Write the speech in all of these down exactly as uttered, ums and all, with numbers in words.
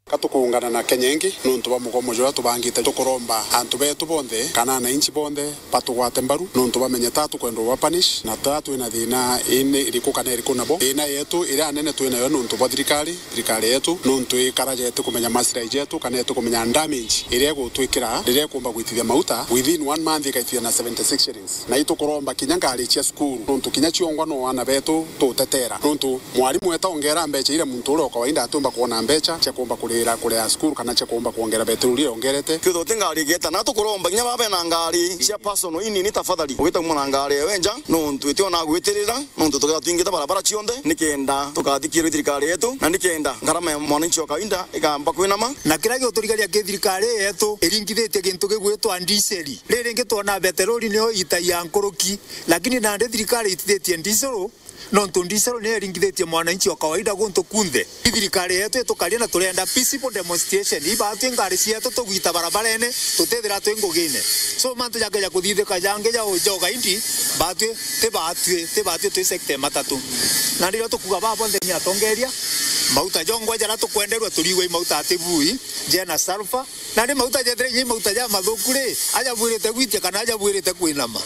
Ka tukuungana na Kenya ingi nuntu bwa mugomo juria tubangite, tukuromba antu betu bonthe kana ananchi bonthe batugwate mbaru nuntu bamenye ta tukwenda uba punish na ta twina thina ini iriku kana iriku nabo. Thina yetu iria nene twinayo nuntu bwa thirikari, thirikari yetu nuntu ikara jeti kumenya maslahi jetu kana eti kumenya damage iria igutwikira riria ikumba gwitithia mauta within one month igaitithia na seventy six shillings. Na itukuromba kinya ngari cia cukuru, nuntu kinya ciongwa no ana betu tutetera. Nuntu mwarimu eta ongera mbecha iria muntu uria o kawaida atiumba kuona mbecha cia kuumba kurira, kuria cukuru kana cia kuumba kuongera beturu iria ongerete. Kwithirwa ti ngari igeta, na tukuromba kinya baba bena ngari cia personal inini, tafadhali ugita kuma na ngari ewe nja, nuntu itiona gwitirira, nuntu tukethirwa twingite barabara cionthe, nikenda tukathikirwe thirikari yetu, na nikenda ngarama ya mwananchi wa kawaida ikamba kwinama. Na kiria giuturigaria ki thirikari yetu iringithitie gintu gigwitwa ndiseri. Riringi twona beterori niyo itagia nkuruki, lakini nandi thirikari itithitie ndisuru, nontu ndisuru niyo iringithitie mwananchi wa kawaida guntu kunthe. Thirikari yetu itukaria na turenda peaceful demonstration. Ibatwi ngari cietu tugwita barabarene, tutithira twi ngugine. So mantu jakeja kuthithika jangi ja ujoga indi, batwi, ti batwi, ti batwi twi sector ya matatu. Na ndirio tukuga baba bonthe ni atongeria, mauta jongwa jara tukwenderwa turigwe i mauta ati bui, jena sulfur, na ni mauta jethira inya i mauta ja mathuku ri, aja bwirite gwitia kana aja bwirite kwinama.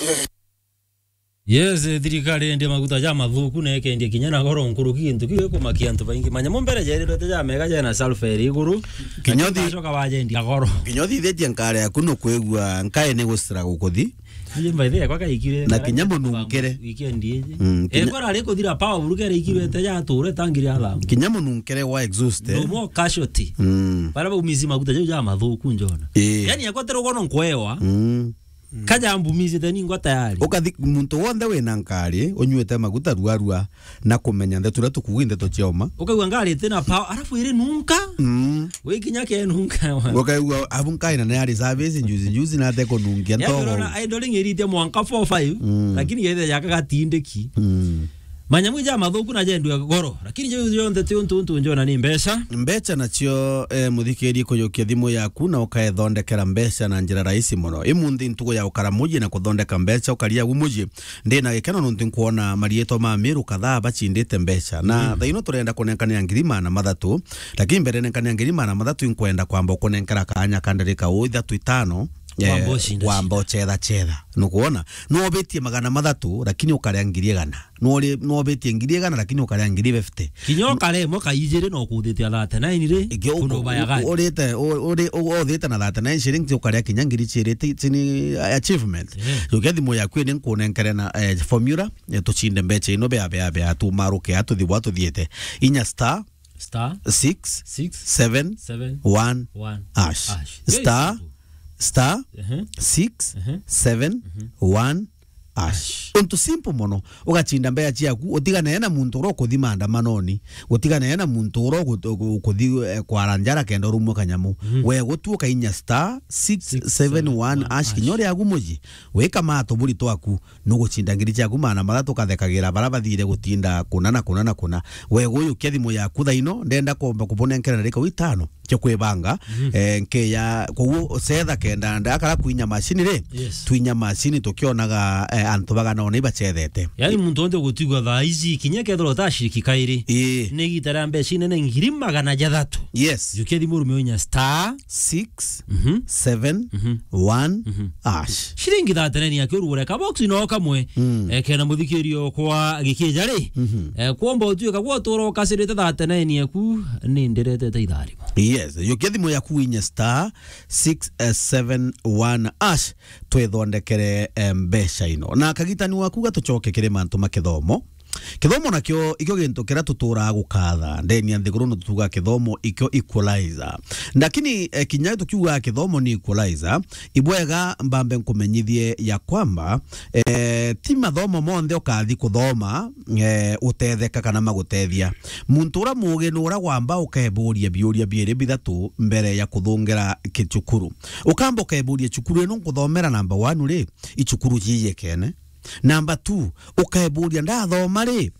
Yes, eh, thirikari yendia maguta ja mathuku na ikendia kinya na goro nkuruki, gintu kiu gikumakia antu baingi. Manyamu mbere jerirwete ja mega jena sulfur iri iguru, kinya lakini uthi- bacoka bajendia goro. Kinya uthithitie nkare yaku nukwigua nkae ni gucira gukuthi. Aje mbaithe yakwa kaikire, na kinya mununkere. Weekend iji. Mm, kinya- ekora ari kuthira power buru kere ikirwete ja ture tangi ria thamu. Kinya mununkere wa exhaust, eh? No more casualty. Mm. Bara baumizi maguta jau ja mathuku njona. Eh. Yani yakwa tero gono nkwewa. Mm. Kaja mbumizite ningwa tayari. Ukathi muntu wonthe wina nkari, unyuite maguta ruarua na kumenya ndeto iria tukuuga i ndeto cia uma. Ukaigua ngari itina power, arafu iri nunka. Mm. Wikinya ke nunka wa. Ukaigua abu nkaina na yari service juzi juzi na ate kunungia. Yani ntogo. Urona idling iritie mwanka four five, mm, lakini yethe yaka gatindiki. Mm. Manyamu ja mathuku na jendua goro, lakini jau jonthe ti untu untu njona ni mbeca. Mbeca nacio, eh, muthikiri kujukia thimu yaku na ukaethondekera mbeca na njira rahisi muno. Imunthi ntugu ya ukara muji na kuthondeka mbeca ukaria agu muji. Ndina gikeno nontu nkwona marietwa ma Miru kadhaa bachindite mbeca. Na, mm, thaa ino turenda kunenkanira ngiri magana mathatu, lakini mbere nenkanira ngiri magana mathatu inkwenda kwamba ukunenkera kaanya ka ndarika uu ithatu itano, eh, wamba uchetha chetha. Nukwona? Nwobitie magana mathatu, lakini ukaria ngiri igana. Nwori-, nwobitie ngiri igana, lakini ukaria ngiri fifty. Kinya ukare imwe ka ijiri no kuthite thirty-nine ri, ingi uku-, kundu baya gani? Urite, u-, uri-, u-, uthite na thirty-nine shillings, ukaria kinya ngiri ciiri ti-, ti-, ni achievement. Yeah. Jukia thimu yaku ini nkunenkere na, eh, formula, eh, tuchinde mbecha ino bea, bea, bea, tumaruke, atuthi bwa tuthiete. Inya star, star, six, six, seven, seven, one, one, hash. Hash. Very simple. Star, star, ehe, six, ehe, seven, one, hash. Untu simple mono. Ugachinda mbeca ciaku, utigane na muntu uria ukuthi maandamanoni, utigane na muntu uria uku-, uku-, ukuthi, eh, kwara njara kenda urumwe kanyamu. Mhm. We gutu ukainya star six seven one hash, six seven one hash, kinya uria agu muji. Wika mato buri twaku, nuguchinda ngiri ciaku maana mathatu ukathekagira bara bathire gutinda kuna na kuna na kuna. We guyukia thimu yaku thaino, ndenda komba kubunenkera na rika witano. Cia kwibanga, mhm, eh, nkeya, koguo cetha kenda ndakara kwinya macini ri, yes, twinya macini tukionaga, eh, antu bagana ona ibachethete. Yani muntu onthe gutigwa thaa ici, kinya kethirwa utashiriki kairi. Ii. Ni igita ria mbeca inene ngiri magana jathatu. Yes. Jukia thimu urume unya star. Six, mhm, seven, mhm, one, mhm, hash. Ciringi thirty-nine yaku urugure kabox no kamwe. Mm. Eh, kena muthikirio kwa gikija ri. Mhm. Eh, kwomba utuika gwa utura ukacirite thirty-nine yaku ni ndiretete itharimo. Yes, yukia thimu yaku winye star six seven one hash, twithondekere, eh, mbeca ino. Na kagitani waku gatucoke kiri mantu ma kithomo. Kithomo nakio ikio gintu kiria tuturaga gukatha ndeni ya nthiguru, no tutuga kithomo ikio equalizer. Lakini, eh, kinya tukiuga kithomo ni equalizer, ibwega mbambe nkumenyithie ya kwamba, eh, ti mathomo monthe ukathi kuthoma, eh, utetheka kana magutethia. Muntu uria muugi ni uria wamba ukeburia biuria biiri bithatu mbere ya kuthungira kicukuru. Ukamba ukeburia, cukuru ino nkuthomera number one ri, i cukuru jiyekene? Number two, ukeburia, ndathoma ri,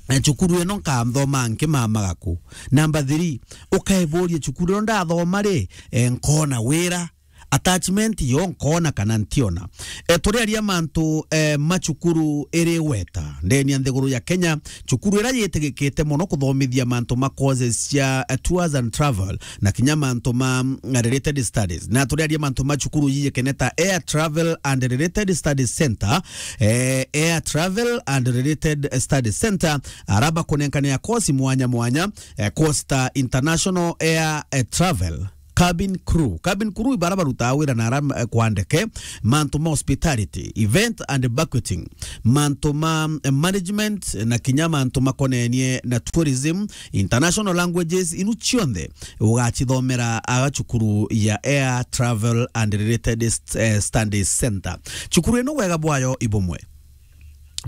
eh, cukuru ino nkathoma nkimamaga ku? Number three, ukeburia, cukuru ino ndathoma ri, eh, nkona wira? attachment yo nkona kana ntiona. E, turiaria mantu, e, ma cukuru iri weta ndeni ya nthiguru ya Kenya, cukuru ira yitigikite mono kuthomithia mantu ma courses cia, e, tours and travel na kinya mantu ma, mm, related studies. Na turiaria mantu ma cukuru yiyikene ta Air Travel and Related Studies Center, e, Air Travel and Related Studies Center, araba kunenkanira course mwanya mwanya, e, course ta International Air, e, Travel, cabin crew. Cabin crew ibara barutaa wira na ara, eh, kwa ndeke, mantu ma hospitality, event and banqueting, mantu ma, eh, management, na kinya mantu makonenie na tourism, international languages, inu cionthe ugacithomera aga cukuru ya Air Travel and Related St-, eh, Studies Center. Cukuru ino wega bwayo ibumwe.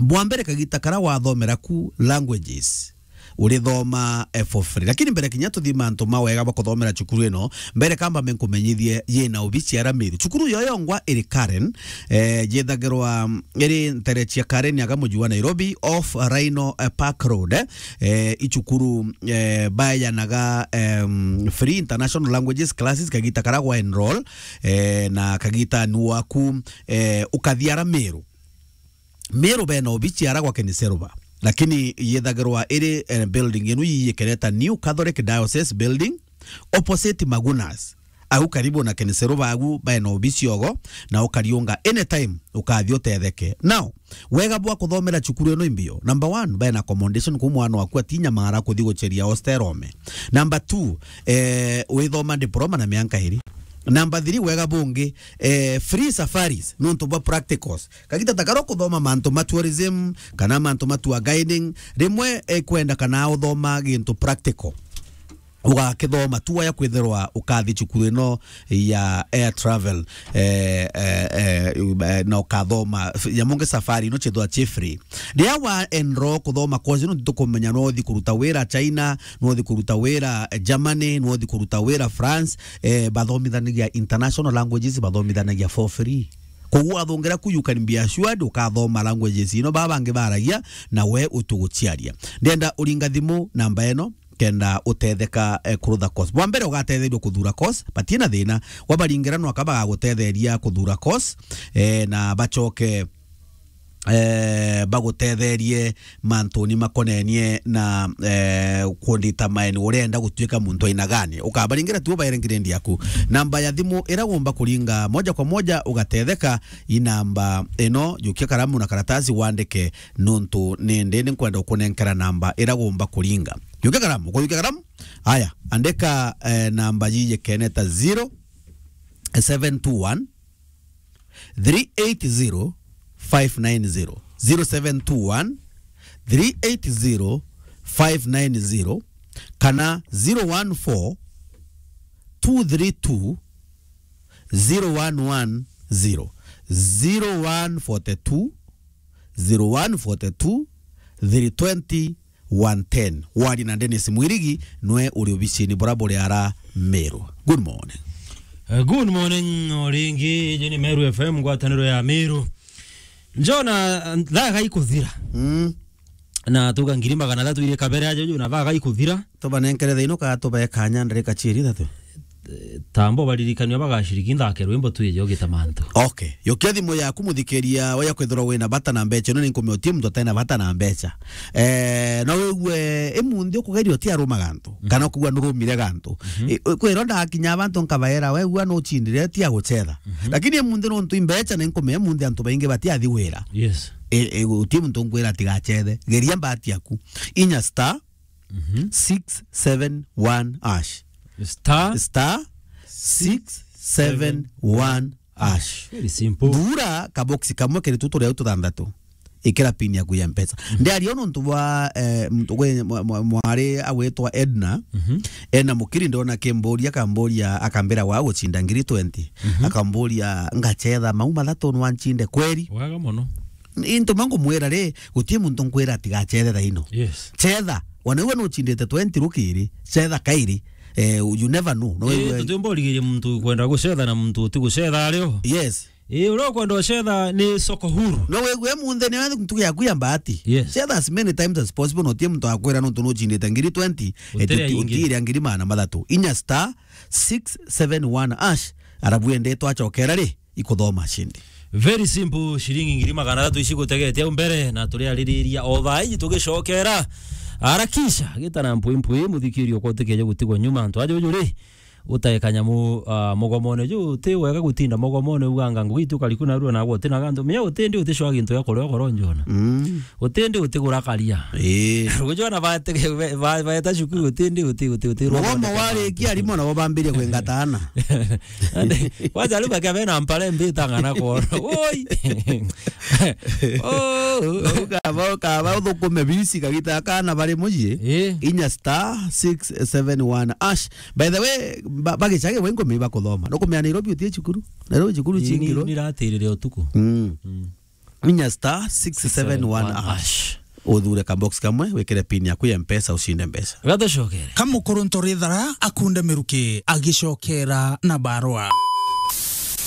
Bwa mbere kagita kara wathomera ku languages, urithoma, eh, for free. Lakini mbere kinya tuthii mantu ma wega bwa kuthomera cukuru ino, mbere kamba menkumenyithie yina obici ya Ramiru. Cukuru yo yongwa iri Karen, eh, yethagirwa, mm, iri ntere cia Karen aga muji wa Nairobi, off Rhino, eh, Park Road, eh, i cukuru, eh, bayanaga, em, free international languages classes kagita kara gwa enroll, eh, na kagita ni waku, eh, ukathia Ramiru. Meru bena obici ara gwa Keniseruba, lakini yethagirwa iri, eh, building inu yiyikereta New Catholic Diocese Building, opposite Magunas. Au karibu na Keniseruba agu bena obici ogo, na ukariunga anytime ukathi utetheke. Now, wega bwa kuthomera cukuru ino imbio. Number one, bena accommodation ku mwana waku atinyamara kuthi gucheria hostel ome. Number two, eh, withoma diploma na mianka iri. Number three, wega bungi, eh, free safaris, nontu bwa practicals. Kagita ta karo kuthoma mantu ma tourism, kana mantu ma tour guiding, rimwe, eh, kwenda kana uthoma gintu practical. Ugakithoma tu waya kwithirwa ukathi cukuru ino ya Air Travel, eh, eh, eh, eh, na ukathoma f-, ya mungi safari ino chithwa chi free. Riria wa enroll kuthoma course ino, tukumenya no uthi kuruta wira China, no uthi kuruta wira, eh, Germany, no uthi kuruta wira France, eh, bathomithanagia international languages, bathomithanagia for free. Koguo wathungira ku, you can be assured ukathoma languages ino baba bangi baragia, na we utuguciaria. Ndenda uringa thimu namba ino, kenda utetheka, eh, kurutha course. Bwa mbere ugatetherio kuthura course, batina thina. Wabaringira nwaka bagagutetheria kuthura course, eh, na bachoke, eh, bagutetherie mantuni makonenie na, eh, kundetermine urenda gutuika muntu aina gani. Ukabaringira tu ubaere grade yaku. Namba ya thimu ira ugomba kuringa moja kwa moja ugatetheka, i namba ino, jukia karamu na karatasi wandike, nontu nindi ni nkwenda gukunenkera namba ira ugomba kuringa. Jukia karamu, ukajukia karamu? Aya, andika, eh, namba yiyikene ta zero seven two one, three eight zero, five nine zero, zero seven two one, three eight zero, five nine zero, kana zero one four, two three two, zero one one zero, zero one four two, zero one four two, three twenty, one ten. Wari na Dennis Mwirigi, nwe uri obicini bura buri ara Meru. Good morning. Eh, good morning, o ringi, iji ni Meru F M, ngwataniro ya Meru. Njona, thaa gaikuthira. Mm. Na tuga ngiri magana athatu iri kabere aja, ju na thaa gaikuthira. Tubanenkere thaino ka tubee kanya ndarika ciiri ithatu. Eh, tambo baririkanio bagaciriki nthake rwimbo twije ugita mantu. Okay. Yokia thimu yaku muthikiria, waya kwithirwa wina bata na mbecha ino, ninkumiotie muntu atena bata na mbecha. Eh, no wigue imunthi ukugeria uti aruma gantu, mhm, kana ukugua nurumire gantu. Mhm. Eh, kwirwo ndakinya abantu nkabaera, we gua nuchindire ti aguchetha. Mhm. Lakini imunthi nontu imbecha ninkumia imunthi antu baingi bati athi wira. Yes. Eh, eh, uti muntu nkwira atigachethe. Geria mbati yaku. Inya star, mhm, six seven one hash. Star, star six seven one hash. Very simple. Thura kaboksi kamwe kiri tu turia tuthanthatu. Ikira pin yaku ya mpesa. Mhm. Ndiaria nontu bwa, eh, muntu gwe mwa-, mwa-, mwari agwitwa Edna. Mhm. Edna Mukiri ndona kimburia, akamburia, akambira wa guchinda ngiri twenty. Mhm. Akamburia, ngachetha mau mathatu nwa nchinde kweri? Wega mono. Into ma ngumwira ri, guti muntu nkwira atigachethe thaino. Yes. Chetha, wana iwe nuchindite twenty rukiri, chetha kairi. Eh, you never know. No, eh, iwe tutimba urigirie muntu kwenda gucetha na muntu uti gucetha ario. Yes. Eh, uria ukwenda ucetha ni soko huru. No wigue munthe ni ntuku yaku ya mbati. Yes. Chetha as many times as possible, no tie muntu akwira nontu nuchindite ngiri twenty, eh, utire uti-, ingi. Utire ngiri magana mathatu. Inya star six seven one hash. Arabu ende twacokera ri, ikuthoma cindi. Very simple, ciringi ngiri magana athatu ici gutegeete au mbere, na turiaririria o thaa iji tugicokera. Harakisha, gita na mpwi mpwi, muthikiria uko utikeje gutigwa nyuma. Antu aja uju ri, utae kanyamu, ah, mugomone ju, uti wega gutinda mugomone uganga ngugi itu kariku narua na gwe uti na gantu. Menya utindi uticwa gintu gia kuria ukoro njona. Mm. Utindi utigura karia. Ii. Gujona bate-, ba-, ba-, baeta cukuru utindi uti, uti, uti. Mugomo warikia, arimu nabo bambirie kwingatana. Ande, kwanza riu bakia bena mpare mbitanga na kuona. Woi. Oh. Ukaba, ukaba uthukume bisi kagita kana bari muji. Eh. Inya star six seven one hash. By the way, ba-, bagicage we ngumi bakuthoma. Nukumenya Nairobi utie cukuru. Nairobi cukuru. Ni, ni, cingiro. Niratirire utuku. Mm. Mm. Inya star six seven one hash. Uthure ka box kamwe, wikire pin yaku ya Mpesa, ucinde mbeca. Gatucokere. Ka mukuru Ntorithara akunde miruki agicokera na barua.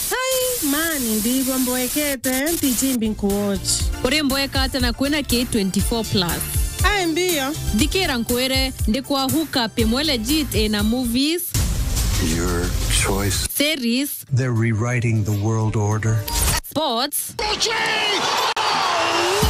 Hai, mani, ndigwa mboekete, ntichimbi nkuwatch. Uri mboeka ata na kwina K twenty-four plus? Ai, mbio. Thikira nkwire, ndikwa hook up imwe legit ina movies. Your choice. Series. They're rewriting the world order. Sports.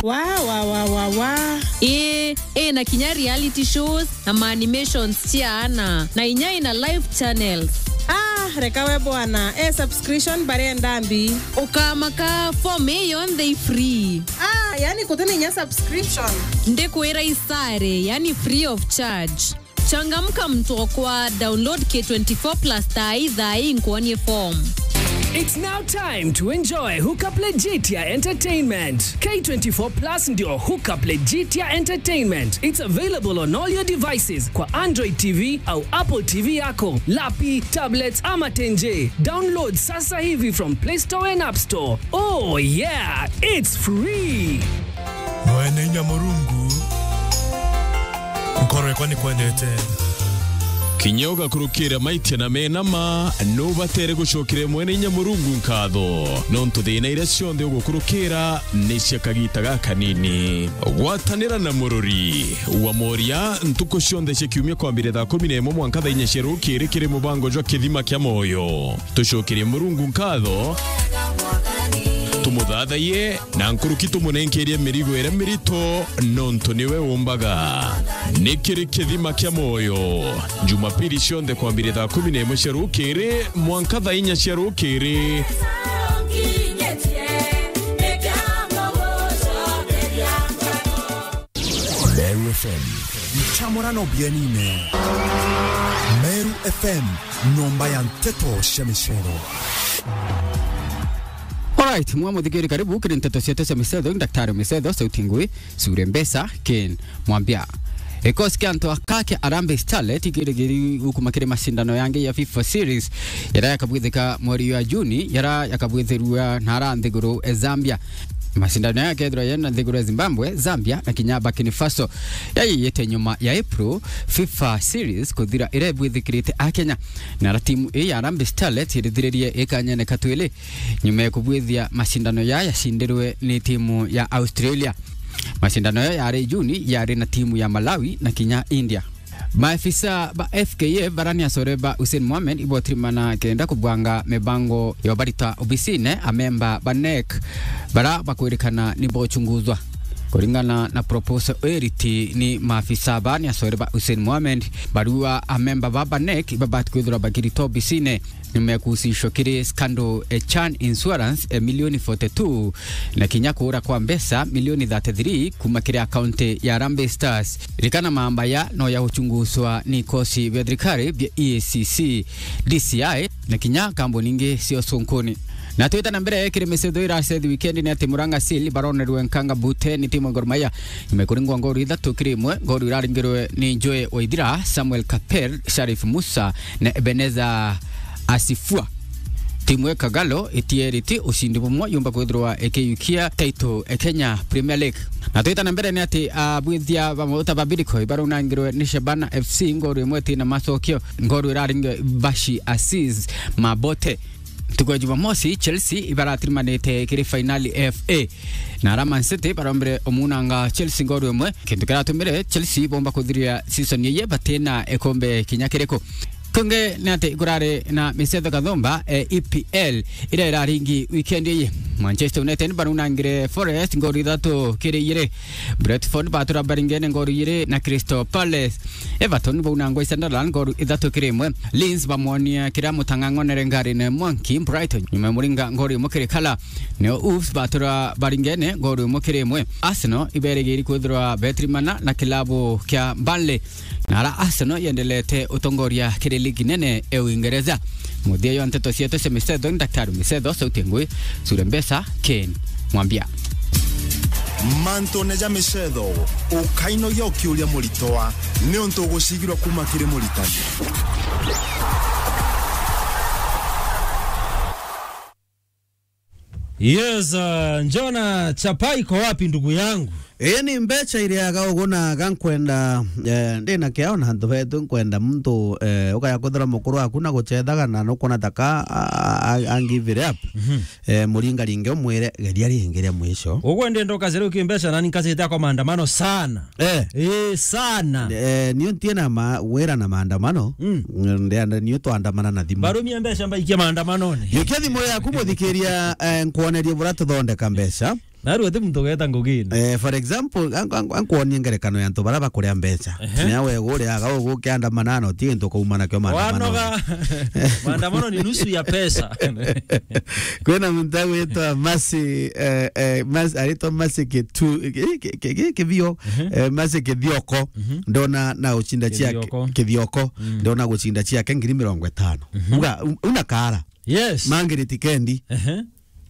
Wa, wa, wa, wa, wa. Ii, ii, na kinya reality shows na ma animations cia ana, na inya ina live channels. Ah, reka we bwana, e subscription barenda mbi. Ukamaka, form ii yonthe i free. Ah, yani gutina inya subscription. Ndikwira isare, yani free of charge. Changamka mtokwa, download K twenty-four plus thaa ii, thaa ii nkuonie form. It's now time to enjoy Hookup Legitia Entertainment. K twenty-four plus ndio Hookup Legitia Entertainment. It's available on all your devices kwa Android T V au Apple T V yako, lapi, tablets ama tenje. Download sasa hivi from Play Store and App Store. Oh yeah, it's free. Mwene inya Murungu, nkoro yakwa ni kwendete. Kinya ugakurukira maitia na mena ma, nubatere gucokera Mwene inya Murungu nkatho, nontu thina iria cionthe ugukurukira ni cia kagita gakanini. Gwatanira na murori wa moria ntuku cionthe cia kiumia kwambire thaa kumi na imwe mwanka thaa inya cia rukiri kiri mubango jwa Kithima kia Moyo. Tucokerie Murungu nkatho, tumuthathaiye, na nkuruki tumunenkerie mirigo iria mirito, nontu niwe umbaga. Ni kiri Kithima kia Moyo, Jumapili cionthe kwambire thaa kumi na imwe cia rukiri mwanka thaa inya cia rukiri. Meru F M. Nchamurano bienine. Meru F M, nyomba ya nteto cia micero. Alright, mwa muthikiri, karibu kiri nteto cietu cia micetho. Daktari Micetho, sauti ngui, sure mbesa, Ken Mwambia. Gikosi kia antu aka kia Harambee Starlet ikirigiri gukuma kiri macindano yangi ya FIFA Series, yaria yakabwithika mweri wa Juni, yaria yakabwithirua na ara nthiguru e Zambia. Macindano ya kethirwa yena nthiguru ya Zimbabwe, Zambia na kinya Burkina Faso. Yayiyite nyuma ya April FIFA Series kuthira iria ibwithikirite a Kenya. Na ara timu ii ya Harambee Starlet irithiririe ikanyene katwili nyuma ya kubwithia macindano ya yacindirwe ni timu ya Australia. Macindano ya yari Juni yari na timu ya Malawi na kinya India. Maafisa ba F K F barani acore ba Hussein Mohamed ibotirimana kenda kubwanga mibango ya ubarita obisine amemba ba NEC bara bakwirikana ni bochunguzwa. Kuringana na proposal eriti ni maafisa barani acore ba Hussein Mohamed, barua amemba ba ba NEC ibabati kwithirwa bakirita obisine nimekuhusishwa kiri scandal e Chan Insurance e milioni forty two na kinya kuura kwa mbeca milioni thirty three kuma kiri akaunti ya Harambee Stars. Ririkana mambaya no ya guchunguswa ni ikosi bia thirikari bia E A C C, D C I na kinya kambuni ingi cia ucunkuni. Na twita na mbere kiri micetho iracethi wikendi ni ati Murang'a Seal baronerwe nkanga bute ni timu ya Gor Mahia. Nyuma ya kuringwa ngoru ithatu kiri imwe, ngoru iraringirwe ni Joe Waithira, Samuel Kaper, Sharif Musa na Ebenezer Asifua. Timu ya Kagalo itieriti ucindi bumwe yumba kwithirwa ikiyukia title e Kenya Premier League. Na twita na mbere ni ati abwithia ba mauta ba Bidco ibarunangirwe ni Shabana F C ngoru imwe tina macokio, ngoru iraringirwe Bashi Aziz Mabote. Ntuku ya Jumamosi, Chelsea ibaratirimanite kiri fainali F A. Na ara Man City barombire omunanga Chelsea ngoru imwe, kintu kiratumire Chelsea bomba kuthiria season iye batina ikombe kinya kiriku. Kungi ni ati kurari na micetho kathumba, eh, E P L, iria iraringi weekend iyi. Manchester United barunangire Forest ngori ithatu kiri igiri. Brentford batura baringene ngori igiri na Crystal Palace. Everton baunangwa i Sunderland ngori ithatu kiri imwe. Leeds bamwonia kiria mutang'ang'onere ngari na Monkey Brighton nyuma ya muringa ngori imwe kiri kala. Nio Wolves batura baringene ngori imwe kiri imwe. Arsenal iberigiri kwithirwa betrimana na kilabu kia Burnley. Na ara Arsenal yendelete utongoria kiri ligi nene e Uingereza. Muthia jwa nteto cietu cia micetho ni Daktari Micetho, sauti ngui, Sure Mbesa, Ken Mwambia. Mantune ja micetho, ukainogia ukiuria muritwa, niuntu ugucigirwa kuma kiri muritani. Yes, uh, Njona Chapai, iko wapi ndugu yangu? Ii ni mbeca iriaga ugu na ga nkwenda, eh, ndi na kiao na antu betu, nkwenda muntu, eh, ukaya kwithira mukuru waku na gucethaga na nukwona ta ka, a, a, a, a give it up. Mhm. Eh, muringaringe umwire, geria ringi ria mwisho. Ugwe ndi ndoka zero ki mbeca nani nkacite akwa maandamano sana. Eh. Eh, sana. Eh, nio ntie na ma-, wira na maandamano. Mm. Ndienda nio twandamana na thimu. Barumia mbeca mbaikia maandamanone. Jukia thimu yaku muthikiria, eh, nkwonerie bura tuthondeka mbeca. Narua ti muntu ugeta ngugine. Eh, for example, an-, an-, ankwonie ngerekano ya antu bara bakuria mbeca. Ehe. Nya we guriaga ugukiandamana na uti gintu ukauma nakio maandamano. Wanoga. Maandamano ni nusu ya pesa. Kwina muntu agwitwa Mercy, eh, eh, Mercy, aritwa Mercy Kitu-, ki-, ki-, ki-, ki-, Kibio, mhm, eh, Mercy Kithioko, mhm, ndona na gucinda ciake, Kithioko. Kithioko, mm, ndona gucinda ciake ngiri mirongo itano. Mhm. Uga, u-, una kara. Yes. Mangiriti Kendi. Ehe.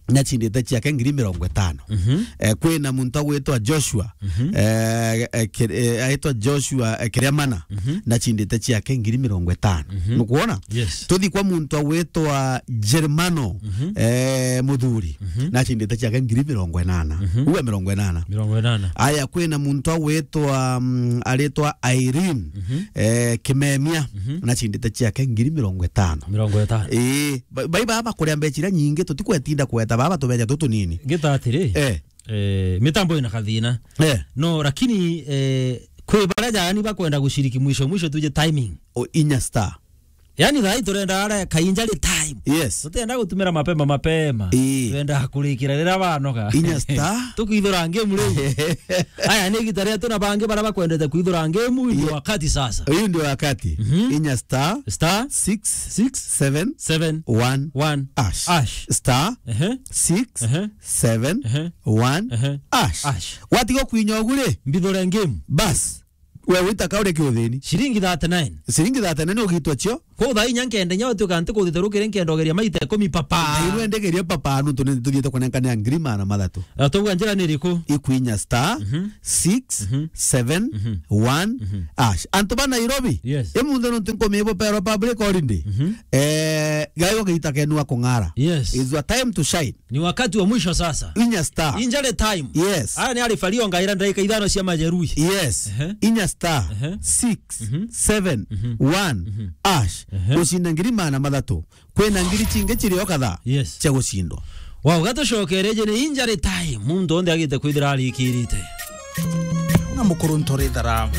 Nacindite ciake ngiri mirongo itano. Mhm. Eh, kwina muntu agwitwa Joshua, mhm, eh, eh, Kir-, eh, aitwa Joshua, eh, Kiriamana, mhm, nacindite ciake ngiri mirongo itano. Mhm. Nukwona? Yes. Tuthi kwa muntu agwitwa Germano, mhm, eh, Muthuri, mhm, nacindite ciake ngiri mirongo inana. Mhm. Uga mirongo inana. Mirongo inana. Aya, kwina muntu agwitwa, mm, aritwa Irene, mhm, eh, Kimemia, mhm, nacindite ciake ngiri mirongo itano. Mirongo itano. Ii, ba-, bai baba bakuria mbeca iria nyingi, tutikwetinda kweta baba tubeca tutunini. Ngita atiri, eh, eh, mitambo ina kathina. Eh. No, lakini, eh, kwi baria jaani bakwenda gushiriki mwisho mwisho tuje timing. O inya star. Yani, thaa hii turenda ara kainjari time. Yes. Tutienda gutumira mapema mapema. Ii. Turenda kurikira riria banoga. Inya star. Tukwithura ngemu riu. Aya, ni igita rietu na bangi bara bakwendete kwithura ngemu, ndio, ii, wakati sasa. Uyu ndio wakati. Mhm. Inya star. Star. Six. Six. Seven. Seven. One. One. Ash. Ash. Star. Ehe. Six. Ehe. Seven. Ehe. One. Ehe. Ash. Ash. Watiga kwinya ugu ri? Mbithure ngemu. Bas. We wita ka uri kiuthini. Ciringi thirty-nine. Ciringi thirty-nine ugitwa cio. Ko thaa inya nkenda inya utuika nti kuthite rukire nkenda ugeria maita ikumi papa. Na iwe ndegeria papa, nuntu ni tuthiite kunenkanira ngiri magana mathatu. Na tuuga njira ni iriku? Ikwinya star, mhm, six, mhm, seven, mhm, one, mhm, ash. Antu ba Nairobi, yes, imunthe nuntu nkumibo perwa public holiday. Mhm. Eh, gaiwa gita kenu wa kung'ara. Yes. It's your time to shine. Ni wakati wa mwisho sasa. Inya star. Injury time. Yes. Aya ni arifalio ngaira ndagika ithano cia majeruhi. Yes. Ehe. Inya star, ehe, six, mhm, seven, mhm, one, mhm, ash. Ehe. Ucinde ngiri magana mathatu. Kwina ngiri cingi cirio kadhaa, yes, cia gucindwa. Wow, gatucokereje ni injury time. Muntu onthe agite kwithira arikirite. Na mukuru ntorithara.